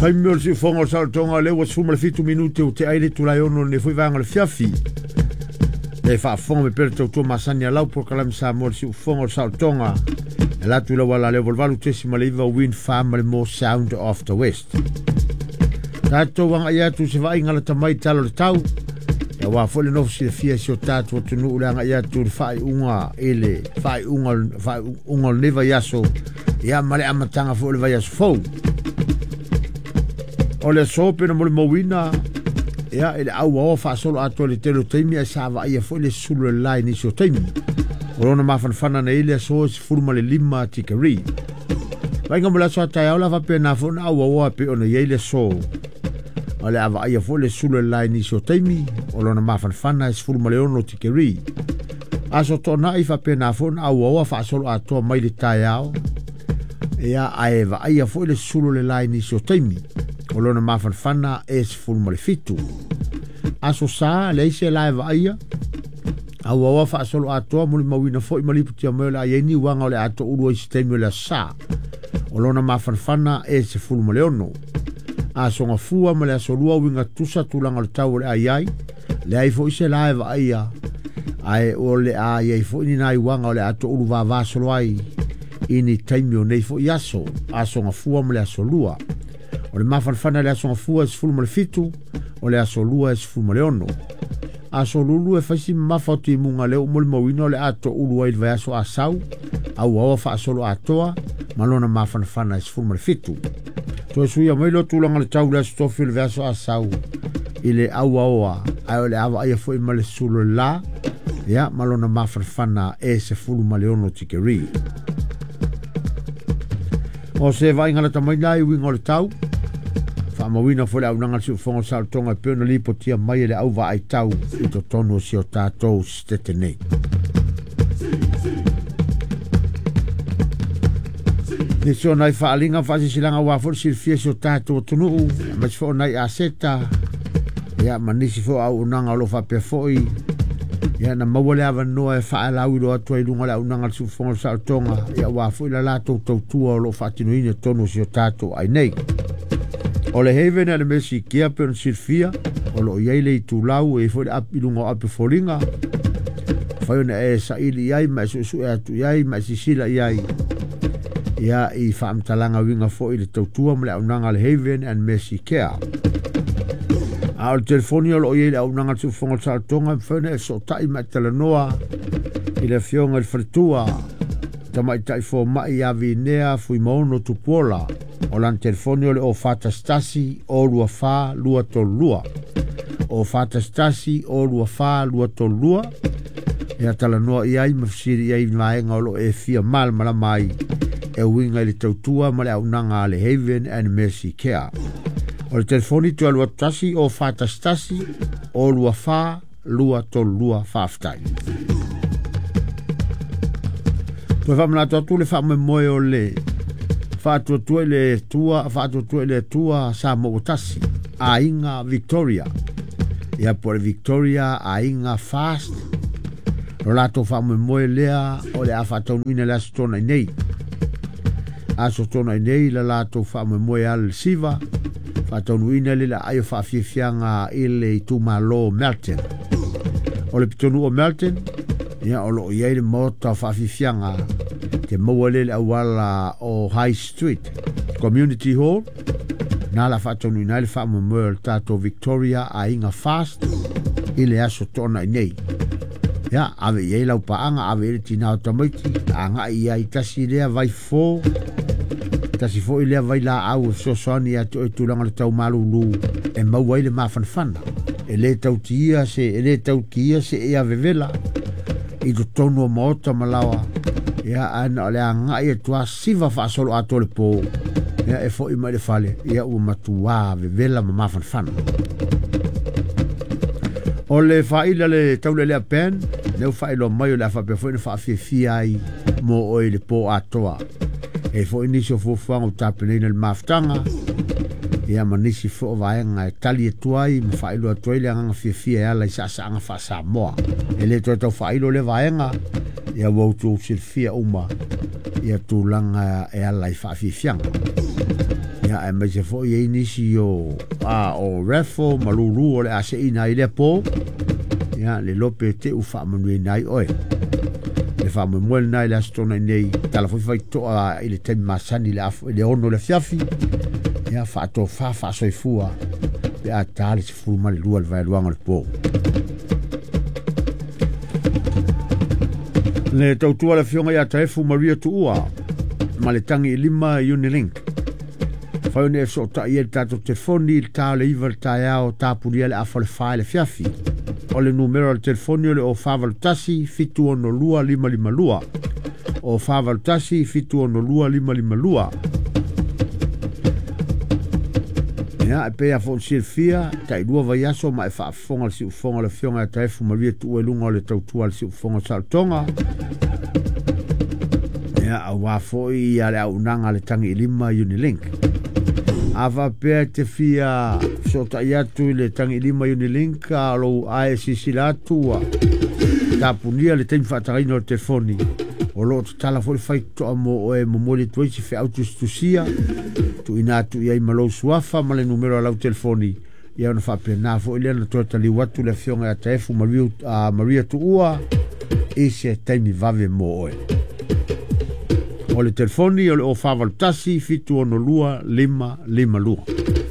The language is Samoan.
Taimi o le siufoga o le saolotoga lea ua 17 minute ua tea ai le itula e 6 o lenei foi vaega o le afiafi. E faafofoga mai pea le tautua masani a lau polokalame Samoa le siufofoga o le saolotoga e ala atu i lau ala lea 88.9 Wind Farm ma le More Sound of the West. Tatou agai atu se vaaiga lata mai tala o le tau aua foi le nofo silafia si o tatou atunuu le agai atu i le faaiuga i le faaiuga o lenei vaiaso ia ma le amataga foi o le vaiaso fou. O le aso pe na molimauina ia i le auaoa faasolo atoa i le tele o taimi ae sa vaaia foi le sulu o le la i nisi o taimi. O lona mafanafana na i le aso e 15 tikeri. Vaaiga mo le aso a taeao la faapena foi na auaoa pei ona i ai le aso. O le a vaaia foi le sulu o le la i nisi o taimi. O lona mafanafana e 16 tikeri. Aso toonai faapena foi na auaoa faasolo atoa mai le taeao. Ia ae vaaia foi le sulu o le la i nisi o taimi. O lona mafanafana e 17. Aso sa, leai se la e vaaia. Auaoa faasolo atoa molimauina foi ma lipotia mai o le a i ai ni uaga o le a toulu ai se taimi o le aso sa. O lona mafanafana e 16. Aso gafua ma le aso lua uiga tutusa tulaga o le tau o le a i ai. Leai foi se la e vaaia. Ae o le a i ai foi ni nai uaga o le a toulu vavasolo ai i ni taimi o nei foi aso. Aso gafua ma le aso lua. O le mafanafana i le aso gafua e 17, o le aso lua e 16. Aso lulu e faisi mamafa o timuga lea ua molimauina o le a toulu ai i le vaiaso Asau, auaoa faasolo atoa ma lona mafanafana e 17. Toe suia mai loa tulaga o le tau i le aso tofi o le vaiaso Asau i le auaoa, ae o le a vaaia foi ma le sulu o le la, ia ma lona mafanafana e 16 tikeri. O se vaaiga lata mai la i uiga o le tau, faamauina foi le auaunaga a le siufofoga o le saolotoga e pei ona lipotia mai e le au vaai tau i totonu o si o tatou sitete nei. Nisi o nai faaaliga ma faasisilanga aua foi le silafia e si o tatou atunuu, aemaise foi o nai aseta, ia ma nisi foi o auaunaga o lo o faapea foi ia na maua le avanoa e faalauiloa atu ai i luga o le auaunaga a le siufofoga o le saolotoga, ia aua foi la latou tautua o lo o faatinoina i totonu o si o tatou ai nei. O le Haven a le Mesikia pei ona silafia, o lo o i ai le itulau e i ai foi le api i luga o api o foliga, mafai ona e saili i ai ma e suesue atu i ai ma e sisila i ai ia i faamatalaga uiga foi i le tautua ma le auaunaga a le Haven and Mercy Care. A o le telefoni o lo o i ai le auaunaga a le Siufofoga o le Saolotoga e mafai ona e fesootai ma e talanoa i le afioga i le faletua Tamaitai Fomai ia Vinea Fuimaono Tupuola. O lana telefoni o le 041 024 232. 041 024 232. Ia talanoa i ai ma fesili i ai i vaega o lo o e fia malamalama ai e uiga i le tautua ma le auaunaga a le Haven and Mercy Care. O le telefoni toe alu atu 1 041 024 232. Faafetai. Toe faamanatu atu le faamoemoe o le faatuatua i le Atua, faatuatua i le Atua Samoa ua tasi, Aiga Victoria. Ia po o le Victoria Aiga Fast. Lo latou faamoemoe lea o le a faataunuuina le Aso Toonai nei. Aso Toonai nei la latou faamoemoe ala le siva, faataunuuina le aai o faafiafiaga i le itumalo Melton. O le pitonuu o Melton, ia o lo o i ai le maota o faafiafiaga te maua lea i le auala o High Street Community Hall, na la faataunuuina ai le faamoemoe o le tatou Victoria Aiga Fast i le Aso Toonai nei. Ia, ave i ai lau paaga, ave i ai le tina o tamaiti, agai i ai tasi lea vai fofo, tasi foi lea vai laau e fesoasoani ia te oe i tulaga o le tau malulu e maua ai le mafanafana. E le tautia se, e le tautia se ea vevela i totonu o maota ma laoa. Ia, ae na o le agai atu a siva faasolo atoa le po, ia e foi mai le fale, ia ua matuā vevela ma mafanafana. O le faaila le taulelea pen, lea ua faailoa mai o le a faapea foi ona faafiafia ai mo oe i le po atoa. E foi nisi o fuafuaga ua tapenaina i le mafutaga, ia ma nisi foi o vaega e tali atu ai ma faailoa atu ai le agaga fiafia e ala i saasaaga faa-Samoa. E le toe tau faailo lea vaega, ia ua outou silafia uma ia tulaga e ala i faafiafiaga. Ia aemaise foi e i ai nisi o a o raffle ma lulu o le a seina ai lea po. Ia le iloa pe te u faamanuiaina ai oe. Le faamoemoe lena i le Aso Toonai nei, tala foi faitotoa i le taimi masani i le i le 6 i le afiafi. Ia faatofa faasoifua pe a ta le 12 i le vaeluaga o le po. Le tautua le afioga ia Taefu Maria Tuua ma le tagi i lima Unilink. Fai ona e fesootai ai le tatou telefoni i le ta o le 9 i le taeao, tapunia le afa o le 4 i le afiafi. O le numera o le telefoni o le 0481 762 552. 0481 762 552. Ia, e pei lava foi ona silafia, tailua vaiaso ma e faafofoga le siufofoga o le Afioga ia Taefu Maria Tuua i luga o le tautua a le siufofoga o Saolotoga. Ia, aua foi ia le auaunaga a le tagi i lima Unilink. A faapea e te fia fesootai atu i le tagi i lima Unilink, a o lou ae silasila atu ua tapunia le taimi faatagaina o le telefoni, o lo o tatala foi le faitotoa mo oe e momoli atu ai se feau tusitusia, tuuina atu i ai ma lou suafa ma le numera o lau telefoni, ia ona faapena foi lea ona toe taliu atu le Afioga ia Taefu Maria, Maria Tuua i se taimi vave mo oe. O le telefoni o le 0481 762 552.